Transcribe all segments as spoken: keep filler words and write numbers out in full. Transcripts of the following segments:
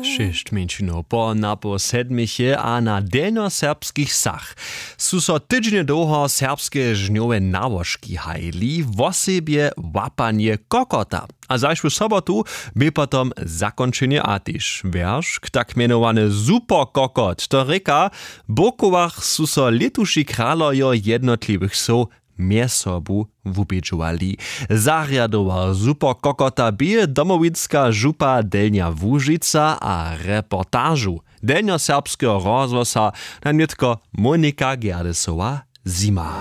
Šěsć mjeńšinow po napoł sedmich je a na delnjoserbskich wsach su so tydźenje dołho serbskeje žnjowe nałožki hajili, wosebje łapanje kokota. A zašłu sobotu bě potom zakónčenje a tež wjeršk, tak mjenowany Superkokot. To rěka, w Bórkowach su so lětuši kralojo jednotliwych wsow mjez sobu wubědźowali. Zarjadował Superkokota bě domowinska župa Delnja Łužica a reportažu delnjoserbskeho rozhłosa na nětko Monika Gerdesowa-Zima.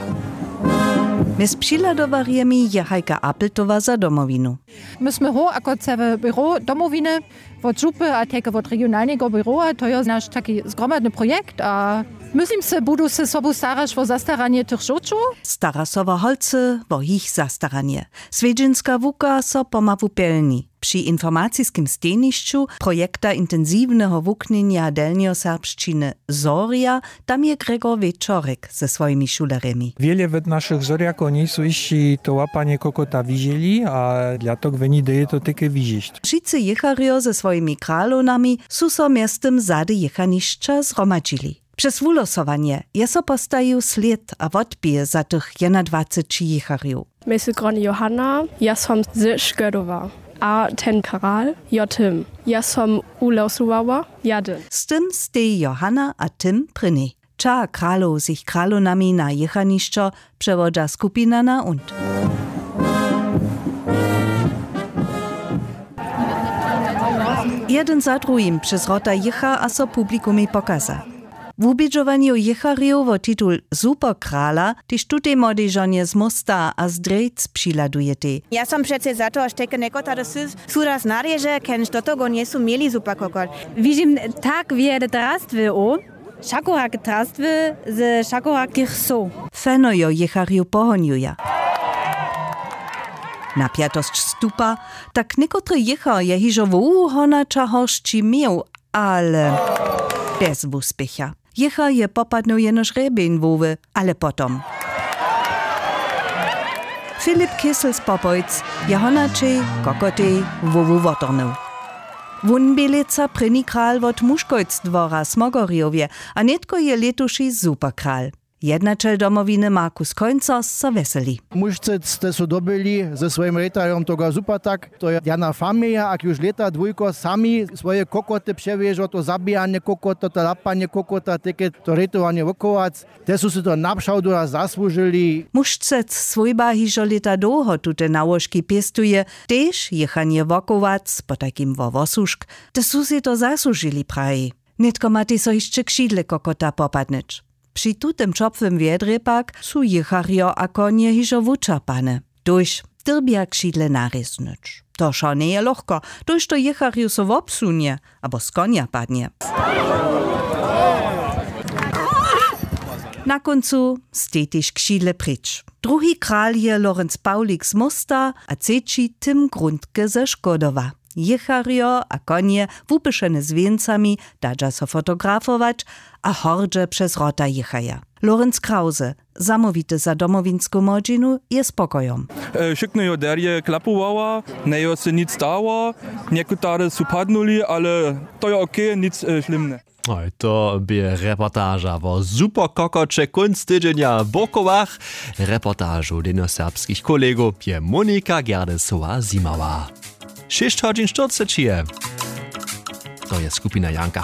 Mjez přihladowarjemi je Hajka Appeltowa za Domowinu. My smy hroh ako całe běro Domowiny, wot župy a tajke wot regionalneho běrowa, to je naš taki zgromadny projekt a, myslim se, budu se sobu staraš wo zastaranje tych žołćow. Stara so wo holcy, wo jich zastaranje. Swjedźenska łuka so pomału pjelni. Při informaciskim stejnišću projekta intensiwneho wuknjenja delnjoserbšćiny Zorja, tam je Gregor Wječorek ze swojimi šulerjemi. Wjele wot našich Zorjakow njejsu hišći to łapanje kokota wiželi a dlatoko woni dej to teke wižišć. Wšitcy jěcharjo ze swojimi kralownami su so mjeztym zady jěchanišća zhromadźili. Přez wulosowanje je so postajił slěd a wotběh za tych jednadwaceći jěcharjow. Mej sy groni Johanna, ja som ze Škødowa. A ten kral, jo tym, ja som ulosowała, jadyn. Z tym steji Johanna a tym prěni. Ča kralow z jich kralownami na jěchanišćo přewodźa skupina na und. Jedyn za druhim přez wrota jěcha a so publikumej pokaza. Wubědźowanju jěcharjow wo titul Superkrala tež tutej młodej žonje z Mósta a z Drjejc přihladujete. Ja som přecy za to, štož teke někotary su, su raz narěže, kenž do toho njesu měli Superkokot. Wižim tak wjele drastwow, šakorak drastwy ze šakorakich sow. Feno jo jěcharjow pohonjuja. Napjatosć stupa, tak někotre jěchar je hižo wołu honaća horsći měł, ale bjez wuspěcha. Jěchar je popadnył jenož hrjebeń woły, ale potom Filip Kissel z Popojc je honaćej kokotej wowu wotornył. Wón bě lětsa prěni kral wot Muškojc dwora w Smogorjowje a nětko je lětuši Superkral. Jednaćel Domowiny Markus Końcers so wjeseli. Mušcec ste su dobyli ze swojim rejtarjom toga Supertak, to je jedna familija, a kiž lěta dwójko sami swoje kokoty přewježo, to zabijanje kokota, to lapanje kokota, teke to rejtowanje wokowac, te su sy to napřawdu raz zasłužili. Mušcec swójba hižo lěta dołho tute nałožki pěstuje, tež jěchanje wokowac, potajkim wo wosušk, te su sej to zasłužili, praji. Nětko matej so hišće křidle kokota popadnyć. Při tutym ćopłym wjedrje pak su jěcharjo a konje hižo wučerpane. Tuž dyrbja křidle narěznyć. To wšo njeje lochko, tuž to jěcharju so wobsunje abo z konja padnje. Na kóncu stej tež křidle pryč. Druhi kral je Lorenc Pawlik z Mósta a třeći Tim Grundke ze Škodowa. Jěcharjo a konje, wupyšene z wěncami, dadźa so fotografować a hordźe přez wrota jěchaja. Lorenc Krause, zamołwity za Domowinsku młodźinu, je spokojom. Wšykno jo derje klapowała, njejo se nic stało, někotary su padnuli, ale to jo ok, nic šlimne. Hoj, to bě reportaža wo Superkokoće kónc tydźenja w Bórkowach. Reportažu denoserbskich kolegow je Monika Gerdesowa zjimała. Šěsć hodźin štyrceći je. To je skupina Janka